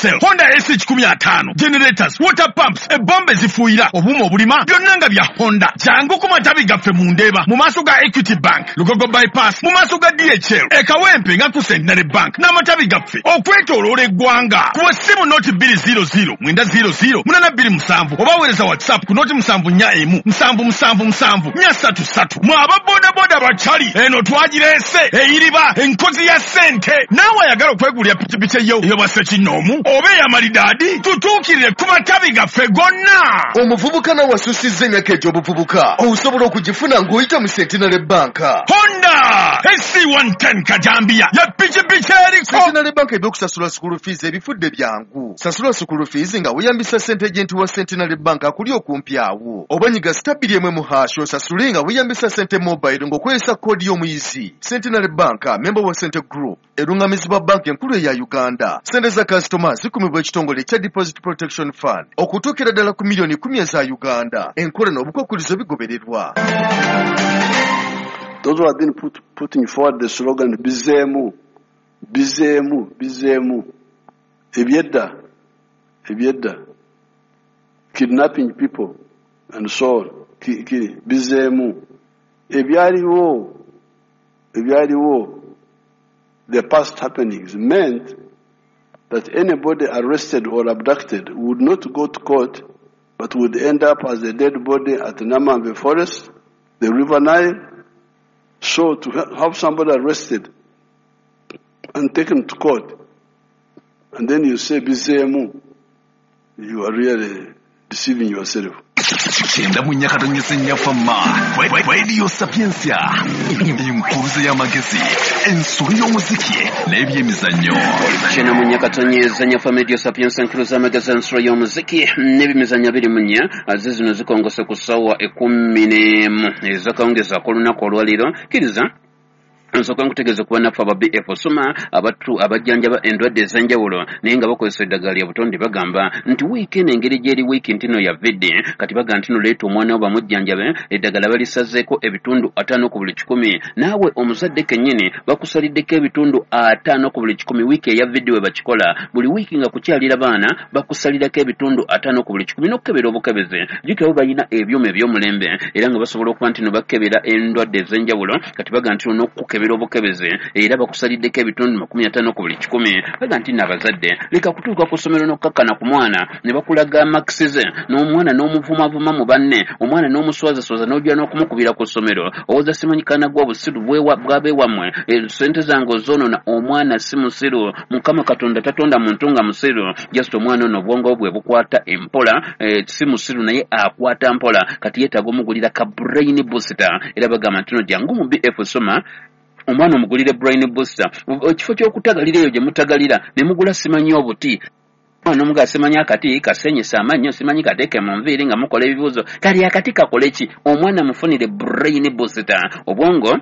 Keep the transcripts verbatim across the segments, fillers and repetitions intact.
D S L, Honda A C kikumi ataano, generators, water pumps, ebomba ezifuuyira, obuuma obulima, byonna nga bya Honda. Jangu ku matabi gaffe mu Ndeeba mu maaso ga Equity Bank, Lugogo Bypass mu maaso ga D H L, e Kawempe nga ku Centenary Bank, n'amatabi gaffe okwetooloola eggwanga. Kuba essimu noti bbiri zero zero mwenda zero zero munaana bbiri musanvu oba weereza WhatsApp ku noti musanvu nnya emu musanvu musanvu musanvu nnya ssatu ssatu. Mwe aba bodaboda bakyali eno twagireese eyiriba enkozi ya ssente. Naawe ayagala okwegulira pikipiki eyo ey'obwa ssekinnoomu oba ey'amalidaadi, tutuukirire ku matabi gaffe gonna. Omuvubuka nawe asussizza emyaka egy'obuvubuka osobola okugifuna ng'oyita mu Centenary Bank. Honda S C one ten kajambiya ya pikipiki eriko. Centenary Bank ebyokusasula school fees ebifudde byangu. Sasula school fees nga weeyambisa sente agent wa Centenary Bank akuli okumpi awo, oba nyiga star bbiri emu mu hash osasule nga weeyambisa sente mobile ng'okozesa koodi y'omuyizi. Centenary Bank, member wa Sente Group, erungamizibwa banka enkulu eya Uganda. Sente za kasitoma zikumibwa ekitongole ekya Deposit Protection Fund okutuukira ddala ku miliyoni kumi eza Uganda. Enkola n'obukwakkulizo bigobererwa. Those who have been put, putting forward the slogan "Bizeemu, Bizeemu, Bizeemu," ebyedda, ebyedda, kidnapping people and so on, Ki- ki- bizeemu, ebyaliwo, ebyaliwo, the past happenings meant that anybody arrested or abducted would not go to court, but would end up as a dead body at Namanve Forest, the River Nile. So to ha- have somebody arrested and taken to court, and then you say "Bizeemu," you are really deceiving yourself. Kyenda mu nnya katonyesa nnyafamma, Radio Sapiensia, enkuluze y'amagezi, ensolo y'omuziki n'ebyemizannyo. Kyenda mu nnya katonyeza nyafa, Radio Sapiensia, enkuluze y'amagezi, ensolo y'omuziki n'ebyemizannyo. Abiri mu nnya ze zino zikongose ku ssaawa ekumi n'emu ezakawungezi ak'olunaku olwaleero. Kkiriza nsooka nkutegeeza kuba naffe aba B F Soma abatu abajjanjaba endwadde ez'enjawulo naye nga bakozesa eddagala lya butonde. Bagamba nti wiiki eno engeri gyeri wiiki ntino ya vidde, kati bagamba nti no leeta omwana wo bamujjanjabe, eddagala balisazeeko ebitundu ataano ku buli kikumi. Naawe omuzadde kennyini bakusaliddeko ebitundu ataano ku buli kikumi. Wiiki eya vidde we bakikola buli wiiki nga kukyalira baana, bakusalirako ebitundu ataano ku buli kikumi n'okukebera obukebezi. Jjukira bo balina ebyuma eby'omulembe era nga basobola okuba nti no bakebera endwadde ez'enjawulo. Kati bagamba nti no n'okukebera obukebezi era bakusaliddeko ebitundu makumi ataano ku buli kikumi. Baga nti nno abazadde leka kutuuka ku ssomero n'okkakkana ku mwana ne bakulaga marks ze n'omwana n'omuvumavuma mu banne, omwana n'omuswazaswaza n'ojja n'okumukubira ku ssomero. Owoza simanyikana gwa obusiru bwewa- bw'abeewammwe, eh, sente zange ozoonona. Omwana si musiru. Mukama Katonda tatonda muntu nga musiru. Just omwana ono obwongo bwe bukwata empola, eh, si musiru naye akwata mpola. Kati yeetaaga omugulira ka brain booster. Era bagamba nti no jangu mu B F Soma omwana omugulire brain booster. Ekifo ky'okutagalira eyo gye mutagalira ne mugula simanyi obuti, omwana omuga simanyi akati kasenyesa amannyo, simanyi kateeke mu nviiri nga mukola ebibuuzo, kali akati kakole ki? Omwana mufunire brain booster, obwongo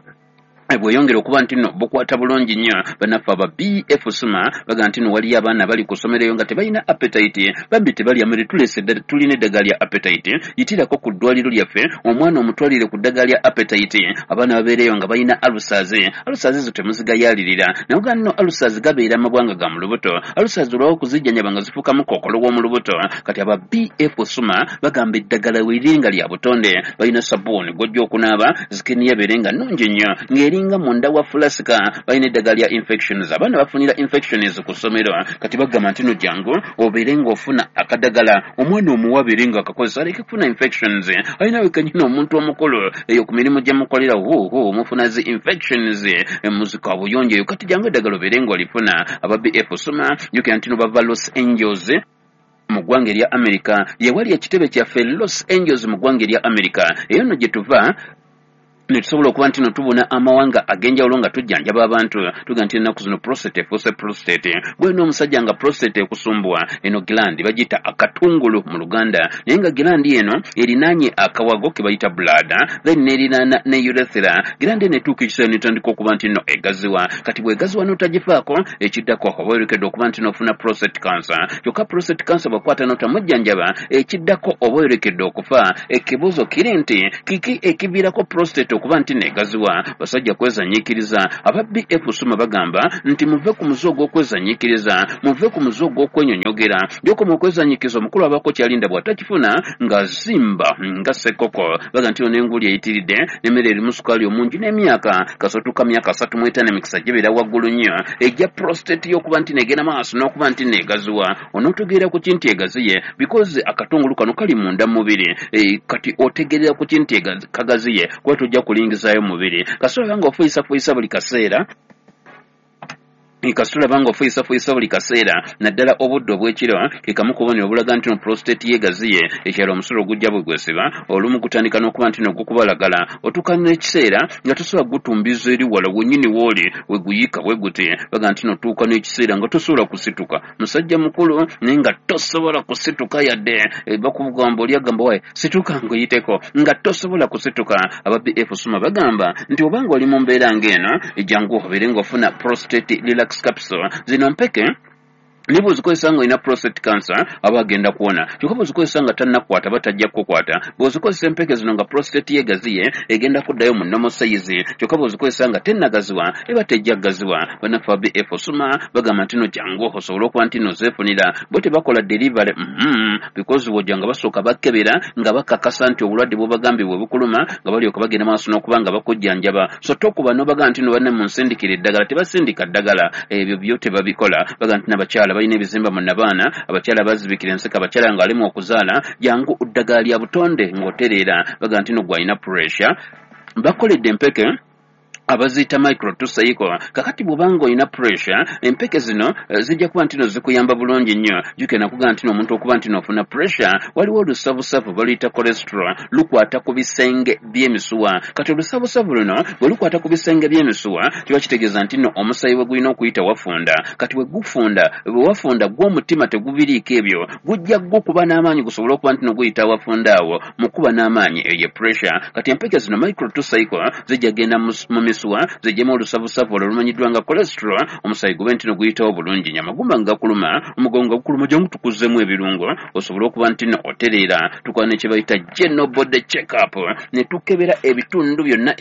bweyongera okuba nti nno bukwata bulungi nnyo. Bannaffe aba B F Suma baga nti nno waliyo abaana bali ku ssomero eyo nga tebalina appetite, bambi tebalya mmere. Tulese tulina eddagala lya appetite. Yitirako ku ddwaliro lyaffe omwana omutwalire ku ddagala lya appetite. Abaana babeereyo nga balina ulcers, ulcers ezo temuzigayalirira. Naye oga nno ulcers gabeera amabwanga ga mu lubuto. Ulcers olwawo okuzijjanjaba nga zifuukamu kookolo w'omu lubuto. Kati aba B F Suma bagamba eddagala weriri nga lya butonde. Balina sabbuuni gw'ojja okunaaba skin yabeere nga nnungi nnyo ng'eringa munda wa fulasika. Balina eddagala lya infections, abaana bafunira infections ku ssomero. Kati bagamba nti no jangu obeere ng'ofuna akadagala omwana omuwa abeere nga akakozesa aleke kufuna infections. Alina wekenyini omuntu omukulu eyo ku mirimu gye mukolera huhu mufuna zi infections muzika buyonjo eyo. Kati jangu eddagala obeere ng'olifuna. Aba B F Soma, jjukira nti no bava Los Angeles mu ggwanga erya America, yewali ekitebe kyaffe Los Angeles mu ggwanga erya America. Eyo nno gye tuva ne tusobola okuba nti no tubuna amawanga ag'enjawulo nga tujjanjaba abantu. Tuga nti ennaku zino prostate efuuse prostate. Gwena omusajja nga prostate ekusumbuwa, eno gland bagiyita akatungulu mu Luganda, naye nga gland eno erinaanye akawago ke bayita bladder, then nerinaana ne urethra. Gland eno etuuka ekiseera netandika okuba nti no egaziwa. Kati bw'egaziwa n'otagifaako, ekiddako oba oyolekedde okuba nti nofuna prostate cancer. Kyokka prostate cancer bw'akwata n'otamujjanjaba, ekiddako oba oyolekedde okufa. Ekibuuzo kiri nti kiki ekiviirako prostate? prostate okuba nti negaziwa. Basajja kwezanyiikiriza. Aba B F Suma bagamba nti muve ku muze ogw'okwezanyiikiriza, muve ku muze ogw'okwenyonyogera. Gy'okoma okwezanyiikiriza omukulu abaako kyalinda bw'atakifuna ng'azimba nga ssekoko. Baga nti ono enguli eyitiridde n'emmere erimu sukaali omungi n'emyaka kasootuuka myaka asatu mu etaano emikisa gibeera waggulu nnyo ejja prostate y'okuba nti negenda maaso n'okuba nti negaziwa. Onootegeera ku kinti egaziye because akatungulu kano kali munda mu mubiri, e, kati otegeerera ku kinti kagaziye kuba tojja kulingizaayo mubiri. Kasita nga ofuyisafuuyisa buli kaseera, kasita olaba nga ofuyisafuuyisa buli kaseera naddala obudde obw'ekiro, ke kamu ku bubonero obulaga nti no prostate yeegaziye. Ekyalo omusulo gujja bwe gwesiba, olumu gutandika n'okuba nti no gukubalagala, otuuka n'ekiseera nga tosobola gutumbiza eri wala wennyini w'oli we guyiika bwe guti. Baga nti notuuka n'ekiseera nga tosobola kusituka, musajja mukulu naye nga tosobola kusituka yadde e, bakugamba oli agamba waye situka ng'oyiteko, nga tosobola kusituka. Aba B F Suma bagamba nti obanga oli mu mbeera ng'eno, jangu obeere ng'ofuna prostate relax capsule. Zino mpeke ne bw'ozikozesa ng'olina prostate cancer aba agenda kuwona, kyokka bw'ozikozesa nga tannakukwata aba tajja kukukwata. Bw'ozikozesa empeke zino nga prostate yeegaziye egenda kuddayo mu normal size, kyokka bw'ozikozesa nga tennagaziwa eba tejja kugaziwa. Bannaffe aba B F Suma bagamba nti no jangu osobole okuba nti no zeefunira. Bo tebakola delivery mm-hmm, because bw'ojja nga basooka bakebera nga bakakasa nti obulwadde bw'obagambye bwe bukuluma, nga balyoka bagenda maaso n'okuba nga bakujjanjaba. So tokuba n'obaga nti no banne munsindikira eddagala, tebasindika ddagala, ebyo byo tebabikola. Baga nti n'abakyala balina ebizimba mu nabaana, abakyala bazibikira enseke, abakyala ng'alimu okuzaala, jangu ddagala lya butonde ng'otereera. Baga nti no gw'alina pressure bakoledde empeke abaziyita micro tusaiko. Kakati bw'obanga olina pressure, empeke zino zijja kuba nti no zikuyamba bulungi nnyo. Jjukira nakugamba nti omuntu okuba nti n'ofuna pressure, waliwo olusavusavu baluyita cholesterol, lukwata ku bisenge by'emisuwa. Kati olusavusavu luno bwe lukwata ku bisenge by'emisuwa kiba kitegeeza nti no omusaayi we gulina okuyita wafunda. Kati bwe gufunda, bwe wafunda gw'omutima tegubiriiko ebyo, gujja gukuba n'amaanyi gusobole okuba nti no guyita wafunda awo mu kuba n'amaanyi, eyo ye pressure. Kati empeke zino micro tusaiko zijja genda mu misuwa zijjemu olusavusavu olwo olumanyiddwa nga cholesterol, omusaayi gube nti no guyitawo bulungi nnyo. Amagumba nga gakuluma, omugongo gukuluma, jangu tukuzzemu ebirungo osobole okuba nti no otereera. Tukola ne kye bayita general body check up, ne tukebera ebitundu byonna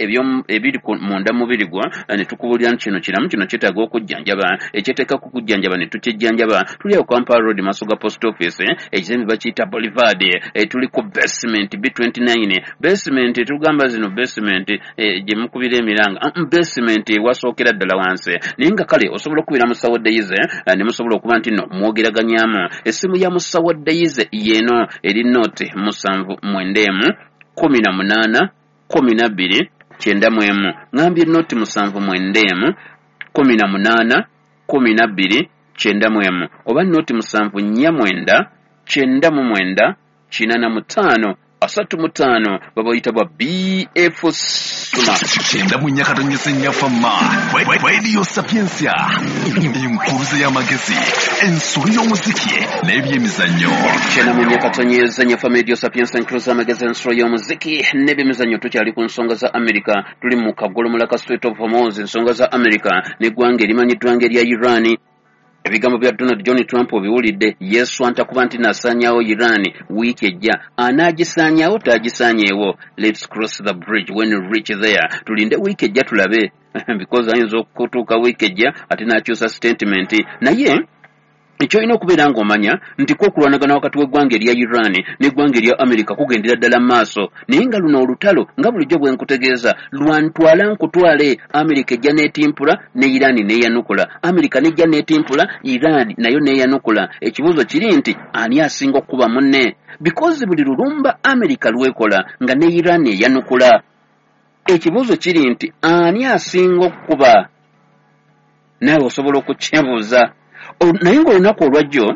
ebiri munda mubiri gwo, ne tukubuulira nti kino kiramu, kino kyetaaga okujjanjaba, ekyeteeka ku kujjanjaba ne tukijjanjaba. Tuli awo Kampala Road maaso ga post office, ekizimbe bakiyita Boulevard, tuli ku basement B twenty-nine. Basement tugamba zino basement gye mukubira emiranga, basement wasookera ddala wansi, naye nga kale osobola okubira musawo Daisy ne musobola okuba nti no mwogeraganyamu. Essimu ya musawo Daisy yeeno eri nooti musanvu mwenda emu kumi na munaana kumi na bbiri kyenda mu emu. Ngambye nooti musanvu mwenda emu kumi na munaana kumi na bbiri kyenda mu emu, oba nooti musanvu nnya mwenda kyenda mu mwenda kinaana mu ttaano asatu mu ttaano, babayita bwa B F Suma. Kyenda mu nnya katonyese nnyafa ma Radio Sapientia, enkuruze y'amagezi, ensolo y'omuziki n'ebyemizannyo. Kyenda mu nnya katonyeze nnyafa Radio Sapientia, enkuruze y'amagezi, ensolo y'omuziki n'ebyemizannyo. Tukyali ku nsonga za Amerika, tuli mu kagolomula ka Strait of Hormuz, ensonga za Amerika n'eggwanga erimanyiddwa ng'erya Iran. Ebigambo bya Donald John Trump obiwulidde, yeeswanta kuba nti nasaanyaawo Iran wiiki ejja. Anaagisaanyaawo taagisaanyeewo? Let's cross the bridge when we reach there. Tulinde wiiki ejja tulabe, because ayinza okutuuka wiiki ejja ate n'akyusa statement. Naye ekyolina okubeera ng'omanya nti ko okulwanagana wakati w'eggwanga erya Iran n'eggwanga erya Amerika kugendera ddala mu maaso, naye nga luno olutalo nga bulijjo bwe nkutegeeza lwantwala nkutwale. Amerika ejja n'etimpula ne Iran n'eyanukula, Amerika n'ejja n'etimpula, Iran nayo n'eyanukula. Ekibuuzo kiri nti ani asinga okukuba munne? Because buli lulumba Amerika lwekola nga ne Iran eyanukula. Ekibuuzo kiri nti ani asinga okukuba? Naawe osobola okukyebuuza. Naye ng'olunaku olwajjo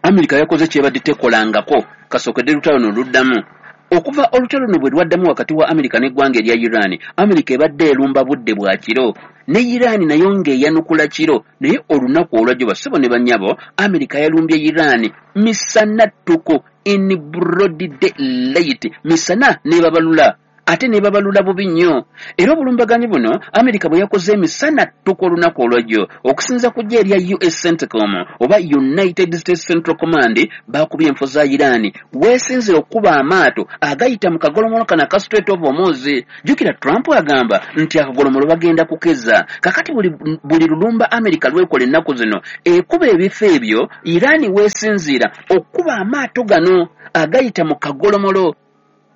Amerika yakoze kyebadde tekolangako kasookedde lutalo no luddamu. Okuva olutalo luno bwe lwaddamu wakati wa Amerika n'eggwanga erya Iran, Amerika ebadde erumba budde bwa kiro ne Iran nayo ng'eyanukula kiro. Naye olunaku olwajjo bassebo ne bannyabo, Amerika yalumbye Iran misana ttuku, in broad daylight, misana n'ebabalula. ate ne babalula bubi nnyo. Era obulumbaganyi buno Amerika bwe yakoze emisana ttuku olunaku olwajjo, okusinza ku ggye erya U S CENTCOM oba United States Central Command, baakubye enfo za Iran weesinzira okukuba amaato agayita mu kagolomolo kano aka Strait of Hormuz. Jjukira Trump agamba nti akagolomolo bagenda kukeza. Kakati buli, buli lulumba Amerika lwekola ennaku zino ekuba ebifo ebyo Iran weesinziira okukuba amaato gano agayita mu kagolomolo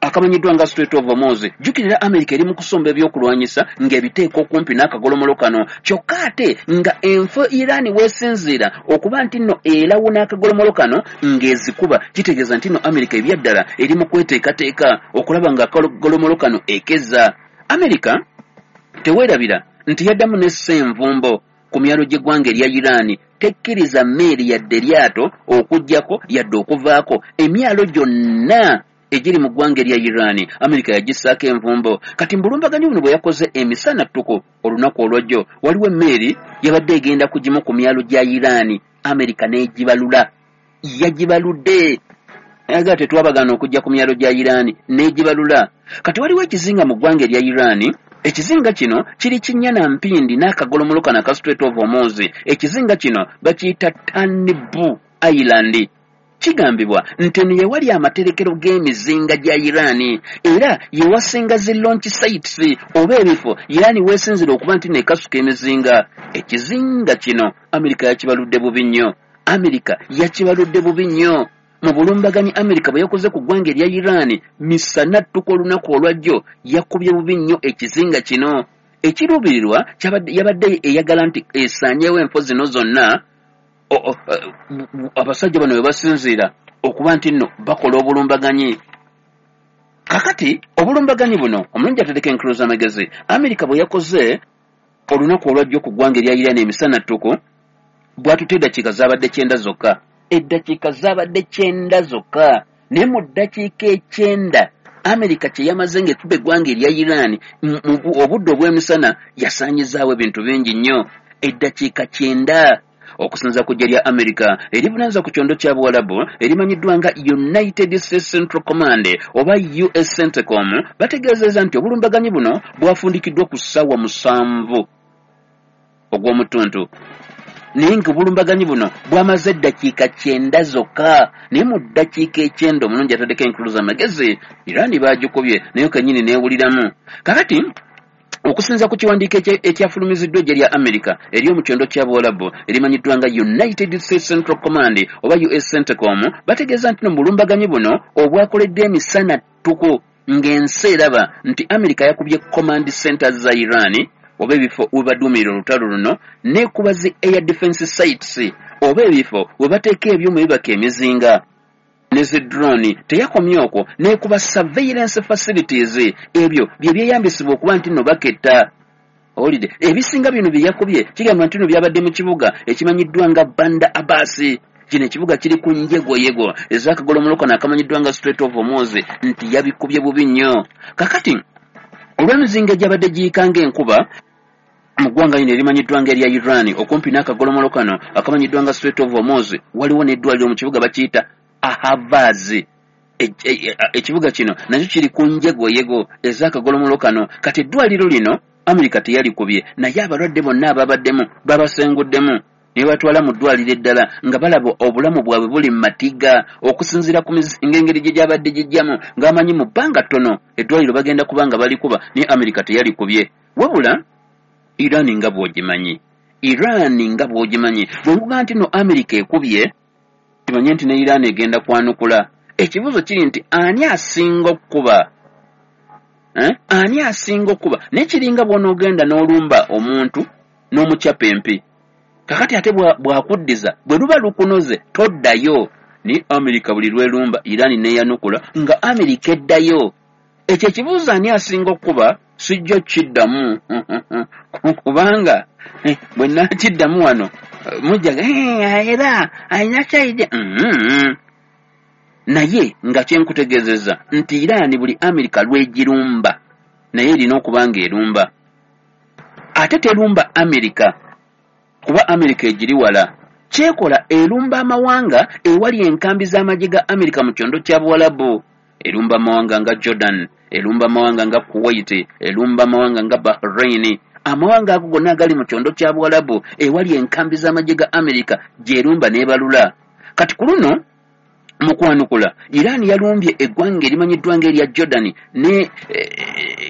akamanyiddwa nga Strait of Hormuz. Jjukirira Amerika eri mu kusomba ebyokulwanyisa ng'ebiteeka okumpi n'akagolomolo kano, kyokka ate nga enfo Iran weesinziira okuba nti nno erawuna akagolomolo kano ng'ezikuba, kitegeeza nti nno Amerika ebyaddala eri mu kweteekateeka okulaba nga akagolomolo kano ekeza. Amerika teweerabira nti yaddamu n'essa envumbo ku myalo gy'eggwanga erya Iran, tekkiriza mmeeri yadde lyato okuggyako yadde okuvaako. Emyalo gyonna egiri mu ggwanga erya Iran Amerika yagissaako envumbo. Kati mu bulumbaganyi buno bwe yakoze emisana ttuku olunaku olwajjo, waliwo emmeeri yabadde egenda ku gimu ku myalo gya Iran, Amerika n'egibalula. Yagibaludde, aga tetwabagaana okujja ku myalo gya Iran, n'egibalula. Kati waliwo ekizinga mu ggwanga erya Iran. Ekizinga kino kiri kinnya na mpindi n'akagolomolo kano aka Strait of Hormuz. Ekizinga kino bakiyita Tanbu Island. Kigambibwa nti eno ye wali amaterekero g'emizinga gya Iran, era ye wasinga zi launch sites oba ebifo Iran weesinzira okuba nti nekasuka emizinga. Ekizinga kino Amerika yakibaludde bubi nnyo. Amerika yakibaludde bubi nnyo. Mu bulumbaganyi Amerika bwe yakoze ku ggwanga erya Iran misana ttuku olunaku olwajjo, yakubye bubi nnyo ekizinga kino. Ekiruubirirwa yabadde eyagala nti esaanyeewo enfo zino zonna abasajja bano we basinziira okuba nti nno bakola obulumbaganyi. Kakati obulumbaganyi buno omulungi atereka enkulu z'amagezi, Amerika bwe yakoze olunaku olwajjo ku ggwanga erya Iran emisana ttuku, bw'atutte eddakiika zaabadde kyenda zokka. Eddakiika zaabadde kyenda zokka, naye mu ddakiika ekyenda Amerika kye yamaze ng'ekuba eggwanga erya Iran obudde obw'emisana yasaanyizaawo ebintu bingi nnyo. Eddakiika kyenda. Okusinza ku ggye lya Amerika erivunaanyizibwa ku kyondo kya Buwalabu erimanyiddwa nga United States Central Command oba U S CENTCOM, bategeezezza nti obulumbaganyi buno bwafundikiddwa ku ssaawa musanvu ogw'omutuntu, naye nga obulumbaganyi buno bwamaze eddakiika kyenda zokka. Naye mu ddakiika ekyenda omulungi ataddeko enkulu z'amagezi, Iran baagikubye naye kennyini neewuliramu. Kakati okusinza ku kiwandiiko ekyafulumiziddwa eggye lya Amerika ery'omu kyondo kya Buwalabu erimanyiddwa nga United States Central Command oba U S CENTCOM, bategeeza nti no mu bulumbaganyi buno obwakoleddwa emisana ttuku ng'ensi eraba nti Amerika yakubye command centers za Iran oba ebifo we baduumirira olutalo luno, n'ekuba zi air defense sites oba ebifo we bateeka ebyuma ebibaka emizinga ne zi drone. Teyakomye okwo, n'ekuba surveillance facilities, ebyo bye byeyambisibwa okuba nti nno baketta. Owulidde? Ebisinga bino bye yakubye kigambibwa nti nno byabadde mu kibuga ekimanyiddwa nga Bandar Abbas. Kino ekibuga kiri ku njegoyego ez'akagolomolo kano akamanyiddwa nga Strait of Hormuz, nti yabikubye bubi nnyo. Kakati olw'emizinga egyabadde giyiika ng'enkuba mu ggwanga lino erimanyiddwa nga erya Iran okumpi n'akagolomolo kano akamanyiddwa nga Strait of Hormuz, waliwo n'eddwaliro mu kibuga bakiyita Ahvaz. Ekibuga kino nakyo kiri ku njegoyego ez'akagolomolo kano. Kati eddwaliro lino Amerika teyalikubye, naye abalwadde bonna ababaddemu babasenguddemu ne batwala mu ddwaliro eddala nga balaba obulamu bwabwe buli mu matiga okusinziira ku mizinga engeri gye gyabadde gijjamu, ng'amanyi mu bbanga ttono eddwaliro bagenda kuba nga balikuba, naye Amerika teyalikubye. Wabula Iran nga bw'ogimanyi, Iran nga bw'ogimanyi, bwe nkugamba nti no Amerika ekubye, kimanye nti ne Iran egenda kwanukula. Ekibuuzo kiri nti ani asinga okukuba? Eh? Ani asinga okukuba? Naye kiringa bw'onoogenda n'olumba omuntu n'omukyapa empi, kakati ate bw'akuddiza bwe luba lukunoze toddayo. Naye Amerika buli lw'erumba Iran neeyanukula nga Amerika eddayo. Ekyo ekibuuzo ani asinga okukuba sijja kiddamu, kubanga bwe naakiddamu wano mujja era alina kyayidde. Naye nga kyenkutegeezezza nti Iran buli Amerika lw'egirumba naye erina okuba ng'erumba. Ate terumba Amerika kuba Amerika egiri wala. Kyekola erumba amawanga ewali enkambi z'amagye ga Amerika mu kyondo kya Buwalabu. Erumba amawanga nga Jordan, erumba amawanga nga Kuwait, erumba amawanga nga Bahrain, amawanga ago gonna agali mu kyondo kya Buwalabu ewali enkambi z'amagye ga Amerika gy'erumba n'ebalula. Kati ku luno mu kwanukula Iran yalumbye eggwanga erimanyiddwa ng'erya Jordan ne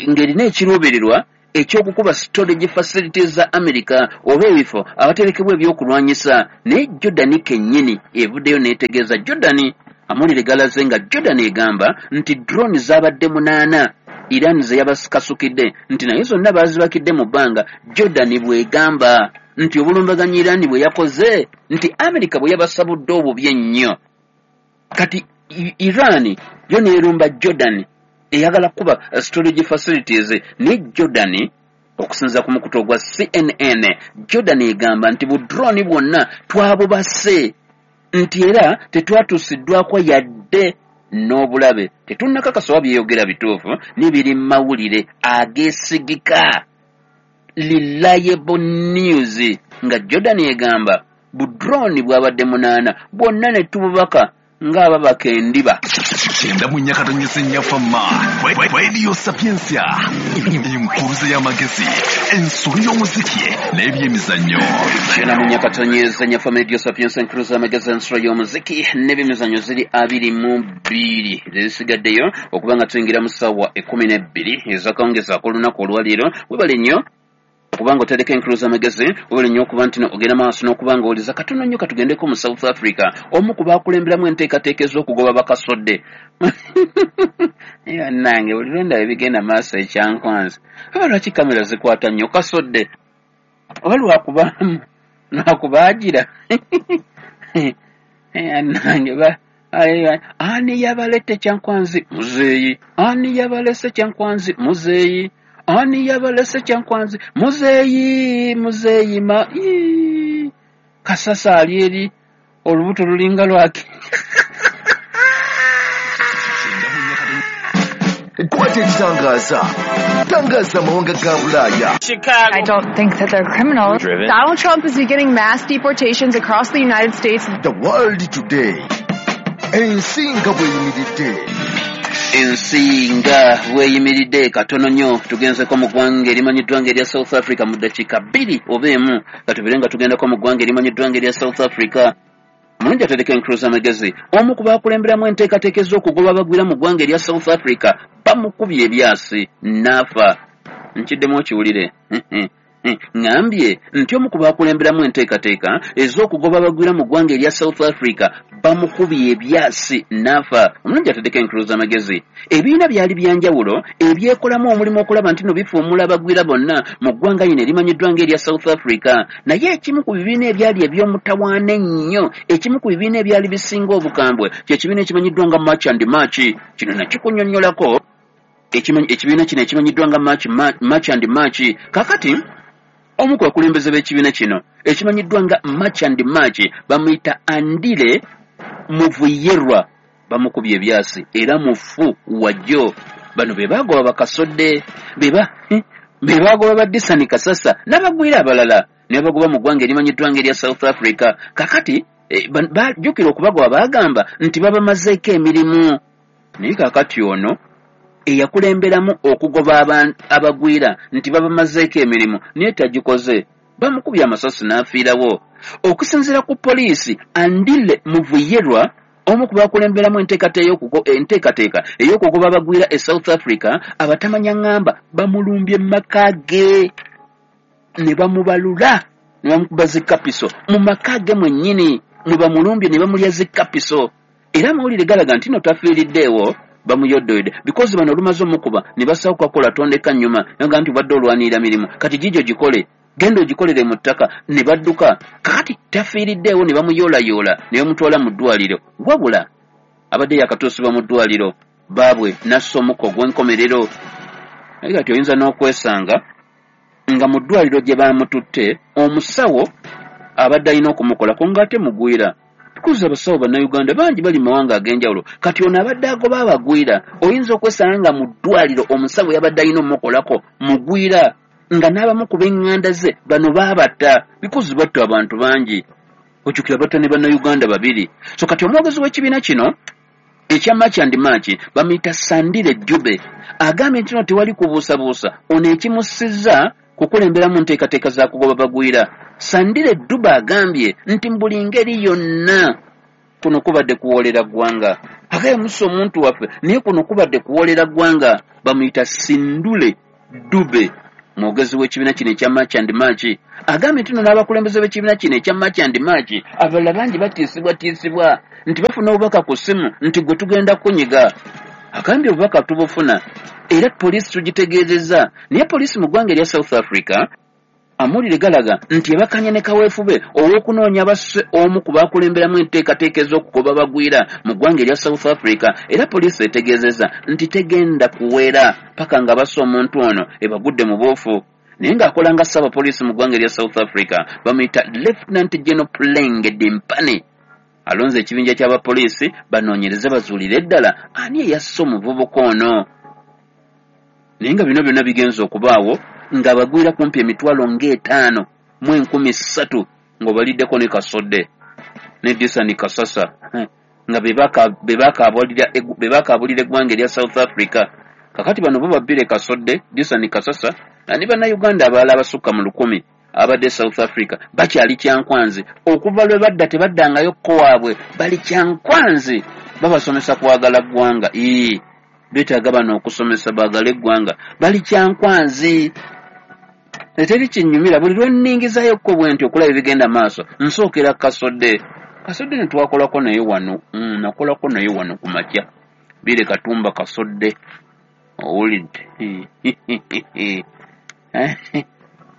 ng'erina ekiruubirirwa ekyokukuba storage facilities za America oba ebifo awaterekebwa ebyokulwanyisa. Naye Jordan kennyini evuddeyo n'etegeeza. Jordan amawulire galaze nga Jordan egamba nti drone zaabadde munaana Iran ze yabakasukidde, nti naye zonna baazibakidde mu bbanga. Jordan bw'egamba nti obulumbaganyi Iran bwe yakoze nti America bwe yabasabudde obubi ennyo. Kati Iran yo n'erumba Jordan eyagala kuba storage facilities. Ne Jordan okusinziira ku mukutu ogwa C N N, Jordan egamba nti bu drone bwonna twabubase, nti era tetwatuusiddwako yadde n'obulabe. Tetunnakakasa oba byeyogera bituufu, n'ebiri mu mawulire ageesigika, reliable news, nga Jordan egamba bu drone bwabadde munaana bwonna ne tububaka ng'ababaka endiba. Kyenda mu nnya katonyeze nnya Fama Radio Sapientia, enkuruze y'amagezi, ensolo y'omuziki n'ebyemizannyo. Kyenda mu nnya katonyeze nnya Fama Radio Sapientia, enkuruze y'amagezi, ensolo y'omuziki n'ebyemizannyo ziri abiri mu bbiri zisigaddeyo okuba nga tuyingira mu ssaawa ekkumi n'ebbiri ez'akawungeezi ak'olunaku olwaleero. Webale nnyo okubanga otereka enkulu z'amagezi, webale nnyo okuba nti ogenda maaso n'okuba nga owuliza. Katono nnyo katugendeko mu South Africa, omu ku baakulemberamu enteekateeka ez'okugoba bakasodde. Nange buli lwe ndaba ebigenda maaso ekyankwanzi, oba lwaki kamera zikwata nnyo kasodde, oba lwakuba lwakubaagira. Nange ba ani yabalette Kyankwanzi muzeeyi, ani yabalese Kyankwanzi muzeeyi, ani yabalese Kyankwanzi muzeeyi, muzeeyi ma ii. Kasasa ali eri olubuto lulinga lwaki. Kwate ekitangaza, tangaza amawanga ga Bulaaya. I don't think that they're criminals. Driven. Donald Trump is beginning mass deportations across the United States. The World Today, ensi nga bweyimiridde. Ensi nga bweyimiridde. Katono nnyo tugenzeko mu ggwanga erimanyiddwa ng'erya South Africa mu ddakiika bbiri oba emu, katubeere nga tugendako mu ggwanga erimanyiddwa ng'erya South Africa. Mulungi atereka enkulu z'amagezi, omu ku baakulemberamu enteekateeka ez'okugoba abagwira mu ggwanga erya South Africa bamukubye ebyasi n'afa. Nkiddemu okiwulire. Ŋŋambye nti omu ku baakulemberamu enteekateeka ez'okugoba abagwira mu ggwanga erya South Africa bamukubye ebyasi n'afa. Omulungi atereka enkulu z'amagezi, ebibiina byali byanjawulo ebyekolamu omulimu okulaba nti no bifuumula abagwira bonna mu ggwanga lino erimanyiddwa ng'erya South Africa. Naye ekimu ku bibiina ebyali eby'omutawaana ennyo, ekimu ku bibiina ebyali bisinga obukambwe, kye kibiina ekimanyiddwa nga March and March. Kino nakikunyonnyolako. Ekibiina kino ekimanyiddwa nga March, March and March. Kaakati omu ku bakulembeze b'ekibiina kino ekimanyiddwa nga March and March bamuyita Andile Muvuyerwa, bamukubye ebyasi era mufu wajjo. Bano be baagoba bakasodde, be baagoba ba Disani Kasasa n'abagwira abalala ne babagoba mu ggwanga erimanyiddwa ng'erya South Africa. Kaakati bajjukira okubagoba baagamba nti babamazeeko emirimu. Naye kaakati ono eyakulemberamu okugoba abagwira nti babamazeeko emirimu naye tagikoze, bamukubye amasasi n'afiirawo. Okusinziira ku poliisi, Andile Muvuyerwa omu ku bakulemberamu enteekateeka ey'okugoba abagwira e South Africa, abatamanya ŋŋamba bamulumbye mu maka ge ne bamubalula ne bamukuba zikapiso mu maka ge mwennyini, mwe bamulumbye ne bamulya zikapiso. Era amawulire galaga nti no tafiiriddeewo, bamuyoddoyodde because bano olumaze omukuba ne basawo kwakola tondeka nnyuma, naga nti obadde olwanirira mirimu, kati gijo gikole, genda ogikolere mu ttaka, ne badduka. Kakati tafiiriddeewo ne bamuyoolayoola ne bamutwala mu ddwaliro. Wabula abadde yakatuusibwa mu ddwaliro baabwe n'assa omukka ogw'enkomerero. Naye kati oyinza n'okwesanga nga mu ddwaliro gye baamututte omusawo abadde alina okumukolako ng'ate mugwira. Because abasawo bannayuganda bangi bali mu mawanga ag'enjawulo. Kati ono abadde agoba abagwira, oyinza okwesanga nga mu ddwaliro omusawo yabadde alina omukolako mugwira, nga n'abamu ku b'eŋŋanda ze bano baabatta because batta abantu bangi. Ojjukira batta ne bannayuganda babiri. So kati omwogezi w'ekibiina kino ekya March and March, bamuyita Sandile Dube, agambye nti no tewali kubuusabuusa ono ekimussizza kukulemberamu nteekateeka za kugoba bagwira. Sandile Dube agambye nti mu buli ngeri yonna kuno kubadde kuwoolera ggwanga. Agaye mussa omuntu waffe, naye kuno kubadde kuwoolera ggwanga. Bamuyita Sindule Dube, mwogezi w'ekibiina kino ekya March and March, agambye nti no n'abakulembeze b'ekibiina kino ekya March and March abalala bangi batiisibwatiisibwa nti bafuna obubaka ku ssimu nti gwe tugenda kunyiga. Agambye obubaka tubufuna era poliisi tugitegeezezza, naye poliisi mu ggwanga erya South Africa amawulire galaga nti ebakanye ne kaweefube ow'okunoonya basse omu ku bakulemberamu enteekateeka ez'okugoba bagwira mu ggwanga erya South Africa, era poliisi etegeezezza nti tegenda kuwera paka nga basse omuntu ono ebagudde mu buufu. Naye ng'akola nga ssaabapoliisi mu ggwanga erya South Africa, bamuyita Lieutenant General Puleng Dimpane, alonze ekibinja ky'abapoliisi banoonyereze bazuulire ddala ani eyasse omuvubuka ono. Naye nga bino byonna bigenze okubaawo ng'abagwira kumpi emitwalo ng'etaano mu enkumi ssatu ng'obaliddeko ne Kasodde ne Disani Kasasa nga be bakaabulira eggwanga erya South Africa. Kakati bano bo babbire Kasodde, Disani Kasasa ne Bannayuganda abalala abasukka mu lukumi abadde South Africa bakyali Kyankwanzi. Okuva lwe badda tebaddangayo kko waabwe, bali Kyankwanzi, babasomesa kwagala ggwanga. Ii, beetaaga bano okusomesa baagale eggwanga, bali Kyankwanzi. Eteri kinyumira buli lwe nningizaayokko bwe nti okulaba ebigenda maaso nsookera Kasodde. Kasodde ne twakolako naye wano, mm, nakolako naye wano ku makya, Bire Katumba Kasodde, owulidde.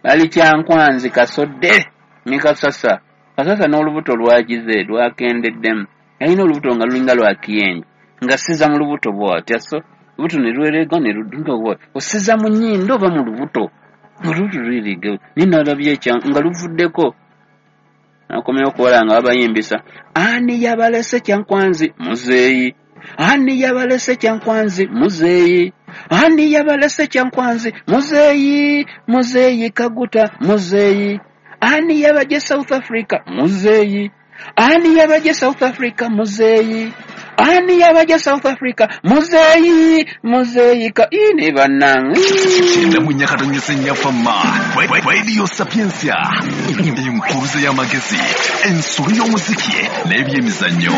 Bali Kyankwanzi Kasodde ne Kasasa. Kasasa n'olubuto lwagize lwakendeddemu, yalina olubuto nga lulinga lwa kiyenje, nga siza mu lubuto bw'atya, so lubuto ne lwerega ne ludunga bw'atya, osiza mu nnyindo oba mu lubuto, olubuto lwerega, naye nalabye ekya nga luvuddeko. Nakomyewo okuwala nga babayimbisa, ani yabalese Kyankwanzi muzeeyi, ani yabalese Kyankwanzi muzeeyi, ani yabalese Kyankwanzi muzeeyi, muzeeyi Kaguta muzeeyi, ani yabajje South Africa muzeeyi, ani yabajje South Africa muzeeyi, ani yabajje South Africa muzeeyi, muzeeyi ka ine bannange. Kyenda mu nnya katonnyeze nnya Fama Radio Sapientia, enkuruze y'amagezi, ensolo y'omuziki n'ebyemizannyo.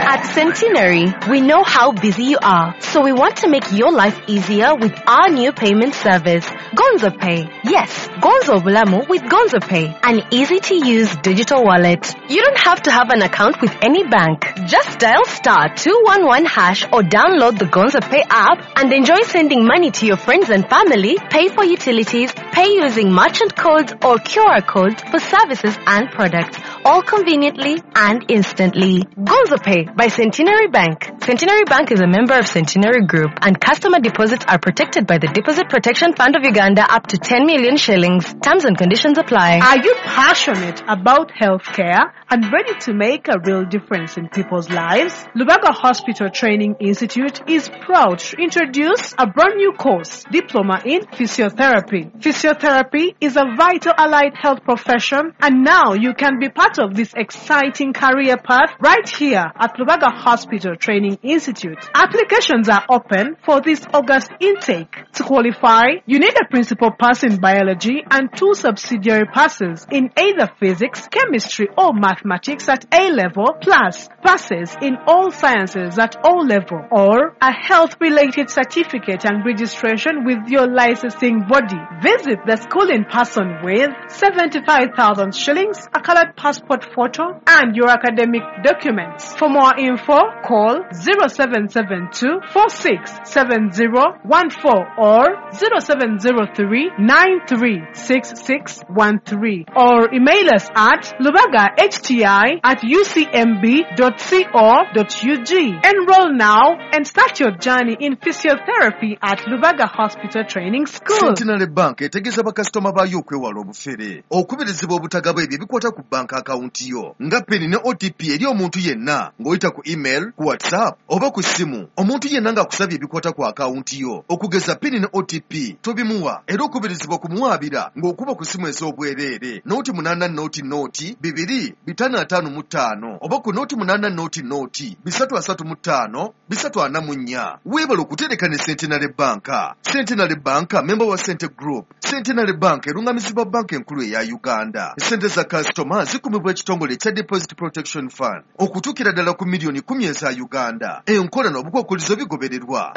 At Centenary, we know how busy you are, so we want to make your life easier with our new payment service, Gonzo Pay. Yes, Gonzo Bulamu with Gonzo Pay, an easy-to-use digital wallet. You don't have to have an account with any bank. Just dial star two one one hash or download the Gonzo Pay app and enjoy sending money to your friends and family, pay for utilities, pay using merchant codes or Q R codes for services and products, all conveniently and instantly. Gonzo Pay by Centenary Bank. Centenary Bank is a member of Centenary Group, and customer deposits are protected by the Deposit Protection Fund of Uganda up to ten million shillings. Terms and conditions apply. Are you passionate about healthcare and ready to make a real difference in people's lives? Lubaga Hospital Training Institute is proud to introduce a brand new course, Diploma in Physiotherapy. Physiotherapy is a vital allied health profession, and now you can be part of this exciting career path right here at Lubaga Hospital Training Institute. Applications are open for this August intake. To qualify, you need a principal pass in biology and two subsidiary passes in either physics, chemistry, or mathematics at A level, plus passes in all sciences at O level, or a health-related certificate and registration with your licensing body. Visit the school in person with seventy-five thousand shillings, a colored passport photo, and your academic documents. For more info, call zero seven seven two, four six seven zero one four or zero seven zero three, nine three six six one three, or email us at lubagahti at u c m b dot co dot u g. Enroll now and start your journey in physiotherapy at Lubaga Hospital Training School. Centenary Bank etegeeza bakasitoma baayo okwewala obufere, okubirizibwa obutagaba ebyo ebikwata ku banka akawunti yo nga PIN ne O T P eri omuntu yenna ng'oyita ku email, ku WhatsApp WhatsApp oba ku ssimu. Omuntu yenna ng'akusabye ebikwata ku akawunti yo, okugeza PIN ne O T P, tobimuwa era okubirizibwa kumuwaabira ng'okuba ku ssimu ez'obwereere nooti munaana nooti nooti bibiri bitaano ataano mu ttaano oba ku nooti munaana nooti nooti bisatu asatu mu ttaano bisatu ana mu nnya. Weebale okutereka ne Centenary Bank. Centenary Bank member wa Sente Group. Centenary Bank erungamizibwa banka enkulu eya Uganda. Sente za kasitoma zikumibwa ekitongole ekya Deposit Protection Fund okutuukira ddala ku miliyoni kumi eza Uganda. Enkola n'obukwakkulizo bigobererwa.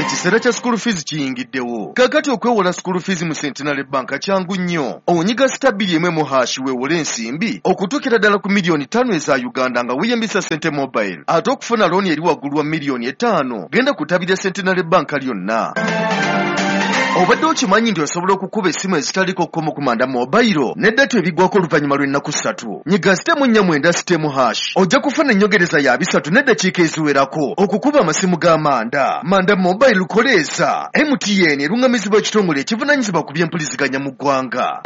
Ekiseera kya school fees kiyingiddewo. Kaakati okwewola school fees mu Centenary Bank kyangu nnyo. Onyiga star bbiri emu mu hash weewole ensimbi okutuukira ddala ku miliyoni ttaano eza Uganda nga weeyambisa Sente Mobile. Ate okufuna looni eri waggulu wa miliyoni etaano, genda ku ttabi lya Centenary Bank lyonna. Obadde okimanyi nti osobola okukuba essimu ezitaliko kkomo ku Manda Mobile ne data ebiggwako oluvannyuma lw'ennaku ssatu. Nyiga sitemu nnya mwenda sitemu hash ojja kufuna ennyongereza ya bisatu n'eddakiika eziwerako okukuba amasimu ga Manda. Manda Mobile koleesa. M T N erungamizibwa ekitongole ekivunaanyizibwa ku by'empuliziganya mu ggwanga.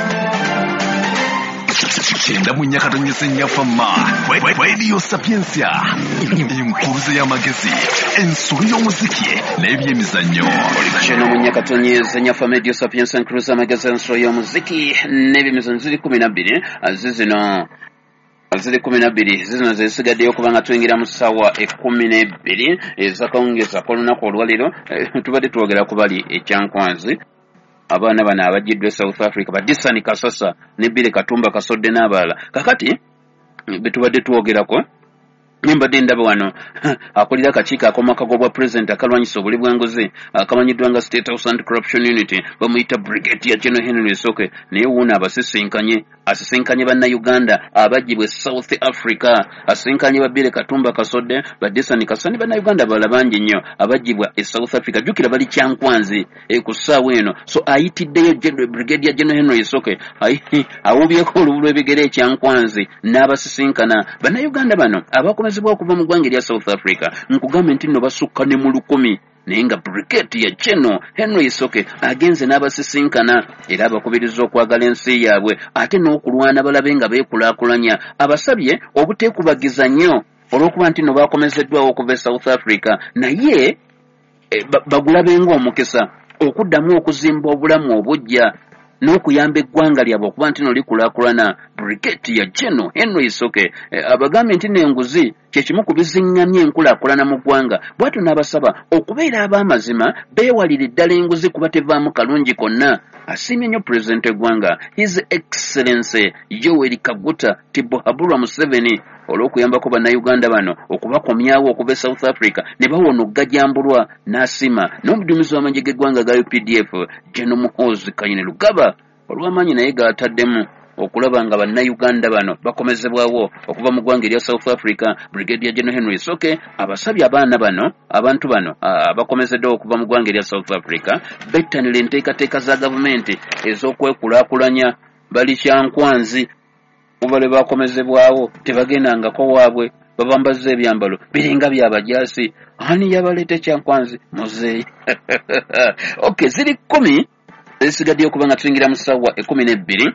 Kyenda mu nnya katonyeze nnya Fama Radio Sapientia, enkuruze y'amagezi, ensolo y'omuziki n'ebyemizannyo. Kyenda mu nnya katonyeze nnya Fama Radio Sapientia, enkuruze y'amagezi, ensolo y'omuziki n'ebyemizannyo ziri kumi na bbiri zizino ziri kumi na bbiri zizino zisigaddeyo kubanga tuyingira mu ssaawa ekkumi n'ebbiri ez'akawungeezi ak'olunaku olwaleero. Tubadde twogera ku bali ekyankwanzi, abaana bano abajjiddwa e South Africa, ba Disani Kasasa ne Bire Katumba Kasodde n'abalala. Kakati betubadde twogerako, mbadde ndaba wano akulira akakiiko ak'omumaka g'obwa pulezidenti akalwanyisa obuli bw'enguzi akamanyiddwa nga State House Anti-Corruption Unit, bamuyita Brigadier General Henry Isoke, naye wuuno abasisinkanye asisinkanye bannayuganda abaggyibwa e South Africa, asisinkanye ba Bire Katumba Kasodde, ba Disani Kasasa ne bannayuganda abalala bangi nnyo abaggyibwa e South Africa. Jjukira bali Kyankwanzi ku ssaawa eno. So ayitiddeyo Brigadier General Henry Isoke, awubyeko olubu lw'ebigere e Kyankwanzi n'abasisinkana bannayuganda bano abakomezebwa okuva mu ggwanga erya South Africa. Nkugambe nti nno basukka ne mu lukumi, naye nga Brigadier General Henry Isoke agenze n'abasisinkana era abakubiriza okwagala ensi yaabwe ate n'okulwana balabe nga beekulaakulanya. Abasabye obuteekubagiza nnyo olw'okuba nti nno bakomezeddwawo okuva e South Africa, naye bagulabe ng'omukisa okuddamu okuzimba obulamu obuggya n'okuyamba eggwanga lyabwe okuba nti nno likulaakulana. Brigadier General Henry Isoke abagambye nti n'enguzi kye kimu ku biziŋŋamya enkulaakulana mu ggwanga, bw'atyo n'abasaba okubeera ab'amazima beewalire ddala enguzi kuba tevaamu kalungi konna. Asiimye nnyo pulezidenti w'eggwanga His Excellency Yoweri Kaguta Tibuhaburwa Museveni olw'okuyambako bannayuganda bano okubakomyawo okuva e South Africa ne bawona okugajambulwa, n'asiima n'omuduumizi w'amagye g'eggwanga ga U P D F General Muhoozi Kainerugaba olw'amaanyi naye g'ataddemu okulaba nga bannayuganda bano bakomezebwawo okuva mu ggwanga erya South Africa. Brigadier General Henry Isoke abasabye abaana bano, abantu bano abakomezeddwa okuva mu ggwanga erya South Africa bettanire enteekateeka za gavumenti ez'okwekulaakulanya. Bali Kyankwanzi kuba lwe bakomezebwawo tebagendangako waabwe, babambazza ebyambalo biringa byabajaasi. Ani yabaleeta Kyankwanzi? Muzeeyi. Okay, ziri kkumi ezisigaddeyo okuba nga tuyingira mu ssaawa ekkumi n'ebbiri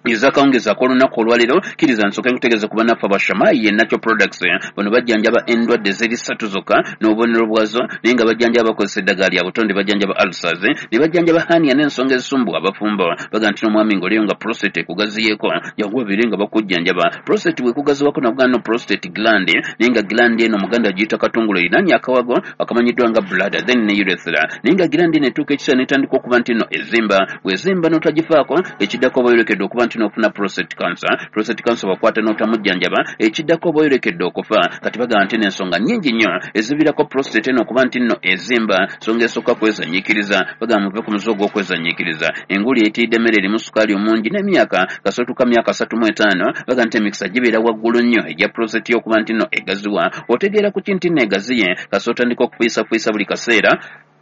ez'akawungeezi ak'olunaku olwaleero. Kkiriza nsooke nkutegeeze ku bannaffe abashamayi ye Natural Products. Bano bajjanjaba endwadde zeri ssatu zokka n'obubonero bwazo, naye nga bajjanjaba bakozesa eddagala lya butonde, bajjanjaba ulcers, ne bajjanjaba hernia n'ensonga ezisumbuwa abafumbo. Bagamba nti n'omwami ng'oliyo nga prostate ekugaziyeeko, jangu babeere nga bakujjanjaba. Prostate bw'ekugaziwako nakugaa no prostate gland, naye nga gland eno Omuganda agiyita katungulu, erinaanye akawago akamanyiddwa nga bladder then ne urethra, naye nga gland eno etuuka ekiseera n'etandika okuba nti nno ezimba. Bw'ezimba n'otagifaako, ekiddako oba oyolekedde okuba nti n'ofuna prostate cancer. Prostate cancer wakwata n'otamujjanjaba, ekiddako oba oyolekedde okufa. Kati bagamba nti n'ensonga nnyingi nnyo eziviirako prostate eno okuba nti nno ezimba. Nsonga esooka kwezanyiikiriza, bagamba muve ku muze ogw'okwezanyiikiriza. Enguli eyitiridde emmere erimu sukaali omungi n'emyaka kasootuka myaka asatu mu etaano, bagamba nti emikisa gibeera waggulu nnyo egya prostate y'okuba nti nno egaziwa. Otegeera ku ki nti nno egaziye? Kasita otandika okufuyisafuyiisa buli kaseera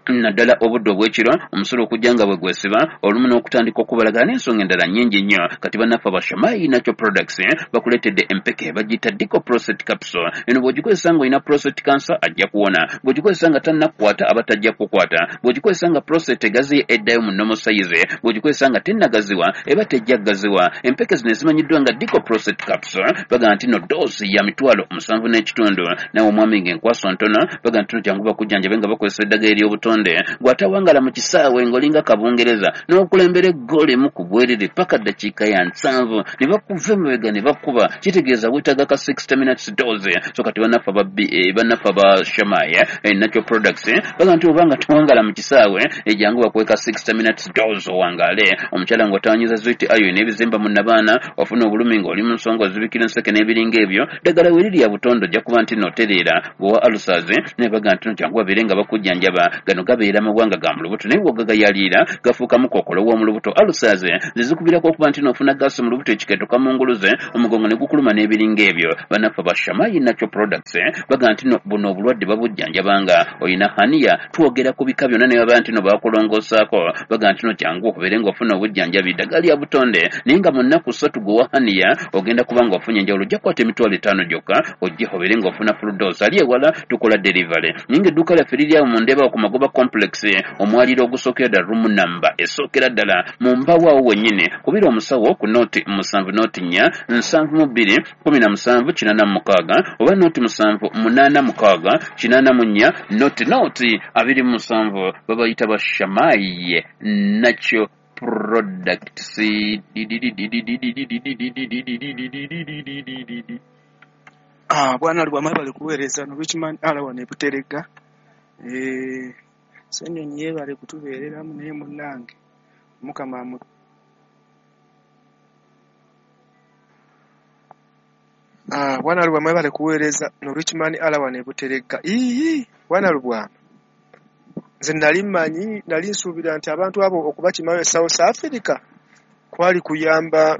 Naddala obudde obw'ekiro omusolo okujja nga bwe gwesiba olumu n'okutandika okubalagala n'ensonga endala nnyingi nnyo. Kati bannaffe aba Shamai Natural Products bakuleetedde empeke bagiyita Dico Prostate Capsule. Eno bw'ogikozesa ng'olina prostate cancer ajja kuwona, bw'ogikozesa nga tannakukwata aba tajja kukwata, bw'ogikozesa nga prostate egaziye eddayo mu normal size, bw'ogikozesa nga tennagaziwa eba tejja kugaziwa. Empeke zino ezimanyiddwa nga Dico Prostate Capsule bagamba nti no doozi ya mitwalo musanvu n'ekitundu. Nawe omwami ng'enkwaso ntono bagamba nti no jangu bakujjanjabe nga bakozesa eddagala ery'obutonde. Gw'atawangala mu kisaawe ng'olinga kabungereza n'okulembera eggoolo emu ku bwerere paka ddakiika ya nsanvu ne bakuva emabega ne bakuba, kitegeeza weetaaga ka sixty minutes dose. So kati bannaffe aba bannaffe aba Shamai Natural Products bagamba nti obanga towangala mu kisaawe jangu bakuwe ka sixty minutes dose owangaale. Omukyala ng'otawanyiza zwiti ayo n'ebizimba mu nnabaana, ofuna obulumi ng'oli mu nsonga ozibikira enseke n'ebiringa ebyo, ddagala we liri ya butondo ojja kuba nti n'otereera. Bw'owa ulcers ne bagamba nti no jangu babeere nga bakujjanjaba. Gano gabeera mawanga ga mu lubuto naye bw'ogagayaliira gafuukamu kookolo w'omu lubuto. Ulcers zizikubirako okuba nti n'ofuna gaasi mu lubuto ekikeeto kamunguluze omugongo ne gukuluma n'ebiringa ebyo. Bannaffe ba Shamai Natural Products bagamba nti no buno obulwadde babujjanjabanga. Olina hernia twogera ku bika byonna ne baba nti no bakulongoosaako bagamba nti no jangu okubeere ng'ofuna obujjanjabi ddagala lya butonde naye nga mu nnaku ssatu gwe wa hernia ogenda kuba ng'ofunye enjawulo. Ojja kukwata emitwalo etaano gyokka ojje obeere ng'ofuna full dose. Ali ewala tukola delivery naye ng'edduuka lyaffe liri awo mu Ndeeba ku Magoba Complex omwaliro ogusookera ddala room number esookera ddala mu mbaawo awo wennyini. Kubira omusawo ku nooti musanvu nooti nnya nsanvu mu bbiri kumi na musanvu kinaana mu mukaaga oba nooti musanvu munaana mukaaga kinaana mu nnya nooti nooti abiri mu musanvu. Babayita ba Shamai Natural Products. Ah, bwana Lubwama bali kuweereza no Richman ala wano e Buterega. Eh, Ssenyonyi yeebale kutubeereramu naye munnange Mukama amu Ah, bwana Lubwama yeebale kuweereza no Richman ala wano e Buterega. Iiii, bwana Lubwama, nze nali mmanyi, nali nsuubira nti abantu abo okubakimayo e South Africa kwali kuyamba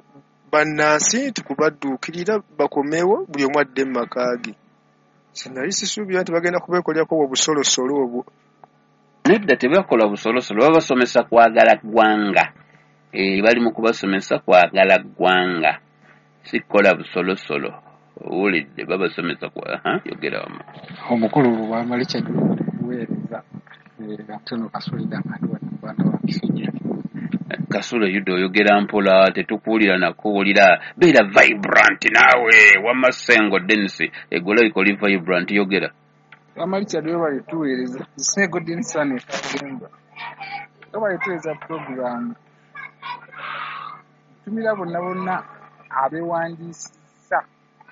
bannansi nti kubadduukirira bakomewo buli omu adde mu maka ge. Nze nali sisuubira nti bagenda kubeekolerako obusolosolo obwo. Nedda tebakola busolosolo, babasomesa kwagala ggwanga. Eh, bali mu kubasomesa kwagala ggwanga, si kukola busolosolo. Owulidde, babasomesa kwa ha yogera wamma. Omukulu Lubwama Richard kuweereza atono Kasulida nga ndi wa Kisujju. Kasule Yuda oyogera mpola tetukuwulira nakuwulira, beera vibrant naawe. Wamma Ssengo Dennis egolabika oli vibrant, yogera. Wamma Richard webale tuweereza. Ssengo Dennis wano e Katemba. Webale tuweereza pulogulaamu. Ntumira bonna bonna abeewandiisizza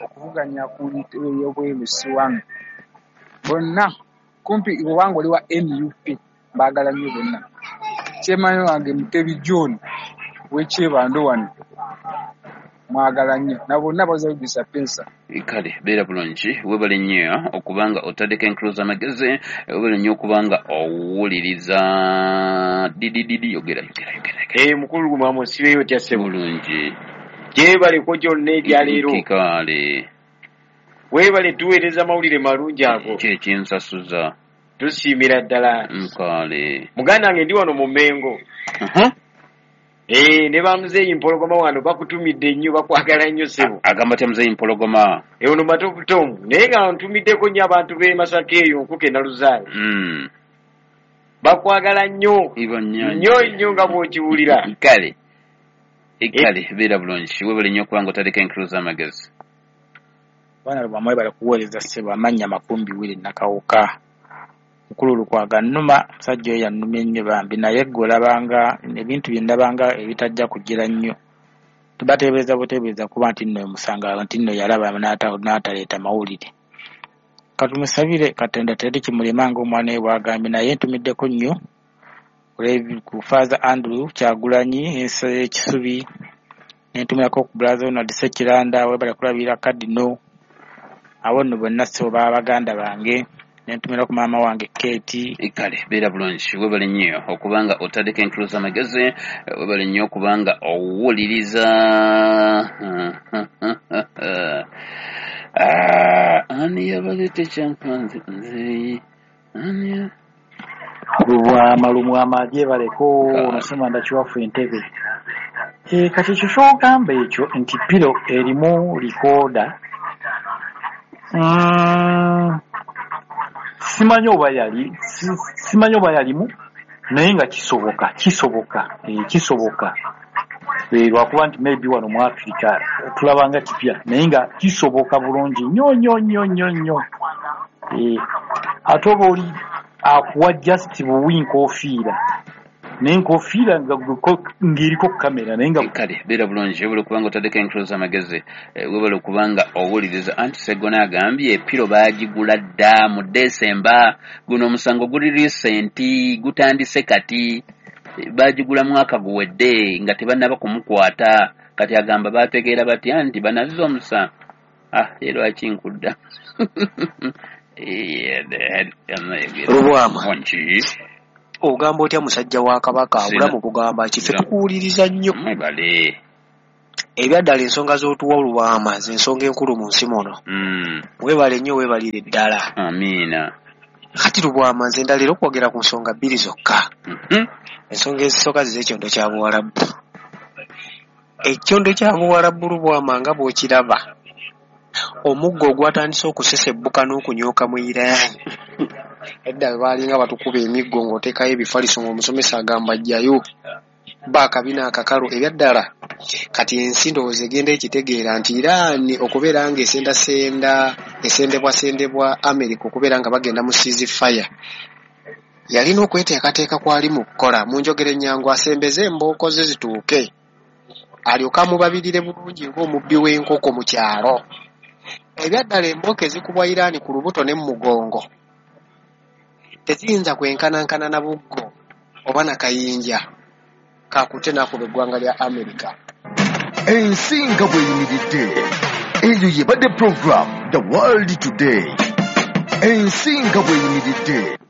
okuvuganya ku ntebe y'obwerusi wano. Bonna kumpi obanga oli wa N U P mbaagala nnyo bonna. Chairman wange Mutebi John w'Ekyebando wano mwagala nnyo na bonna bazabisa pensa. Kale beera bulungi, weebale nnyo okubanga otaddeko enkuluza amagezi, weebale nnyo okubanga owuliriza didididi. Yogera yogera yogera. Eh, mukulu Lubwama osibeeyo otya ssebo? Bulungi. Gyebaleko gyonna ebyaleero. Kale weebale tuweereza mawulire malungi ago. Ki ekinsasuza? Tusiimira ddala. Kale muganda wange ndi wano mu Mmengo. Eh, ne bamuzeeyi Mpologoma wano bakutumidde nnyo, bakwagala nnyo ssebo. Agamba atya muzeeyi Mpologoma? Eh, ono Matovu Tom, naye nga ntumiddeko nnyo abantu b'e Masaka eyo Nkuke Naluzaale. Mm. Bakwagala nnyo. Ibo nnyo nnyo nnyo nga bw'okiwulira. Kale kale beera bulungi, weebale nnyo okubanga otaddeko enkuluza amagezi. Bwana Lubwama webale kuweereza ssebo. Amannya Makumbi Willy Nakawuka. Mukulu Lukwago annuma, musajja oyo yannumye nnyo bambi, naye ggwe olabanga ebintu bye ndabanga ebitajja kugira nnyo. Tubateebereza buteebereza kuba nti nno omusanga nti nno yalaba n'ataleeta mawulire. Katumusabire Katonda teri kimulema ng'omwana we bw'agambye, naye ntumiddeko nnyo ku Father Andrew Kyagulanyi Ekisubi, ne ntumirako ku Brother Ronald Ssekiranda webale kulabirira Cardinal. Abo nno bonna ssebo baba baganda bange. Nentumira ku maama wange Kate. Kale beera bulungi, weebale nnyo okubanga otaddeko enkuluza amagezi, weebale nnyo okubanga owuliriza. Ani yabaleeta ekyankanzi nze ani? Lubwama Lubwama gyebaleko nosema ndakiwafu entebe. E, kati ekyo ky'ogamba ekyo nti piro erimu likoda mm, simanyi oba yali simanyi oba yalimu naye nga kisoboka kisoboka e, kisoboka e, lwakuba nti maybe wano mu Africa tulabanga kipya naye nga kisoboka bulungi nnyo nnyo nnyo nnyo nnyo e, ate oba oli akuwa just buwi nkofiira naye nkofiira ng'eriko kamera naye nga kale beera bulungi webale okubanga otaddeko enkulu z'amagezi, webale okubanga owuliriza. Anti Segona agambye epiro baagigula dda mu Desemba, guno omusango guli recent, gutandise kati, baagigula mwaka guwedde nga tebannaba kumukwata. Kati agamba baategeera batya nti banazza omusango. Ah, ye lwaki nkudda Lubwama ogamba otya musajja wa Kabaka? Obulamu bugamba ki? Ffe tukuwuliriza nnyo. Ebyaddala ensonga z'otuwa Lubwama z'ensonga enkulu mu nsi muno. Weebale nnyo, weebalire ddala. Amiina. Kati Lubwama nze ndala era okwogera ku nsonga bbiri zokka. Ensonga ezisooka zize ekyondo kya Buwalabu. Ekyondo kya Buwalabu Lubwama nga bw'okiraba, omuggo ogwatandise okusesebbuka n'okunyooka mu Iran. Edda baalinga batukuba emiggo ng'oteekayo ebifaliso ng'omusomesa agamba ajjayo baakabina akakalu. Ebyaddala kati ensi ndowooza egenda ekitegeera nti Iran okubeera nga esendasenda esendebwasendebwa America okubeera nga bagenda mu ceasefire yalina okweteekateeka kwali mu kukola. Mu njogera ennyangu asembeze embooko ze zituuke alyoke amubabirire bulungi ng'omubbi w'enkoko mu kyalo. Ebyaddala embooko ezikubwa Iran ku lubuto ne mu mugongo teziyinza kwenkanankana na buggo oba na kayinja kakute n'akuba eggwanga lya America. Ensi nga bw'eyimiridde, eyo yebadde program The World Today. Ensi nga bw'eyimiridde.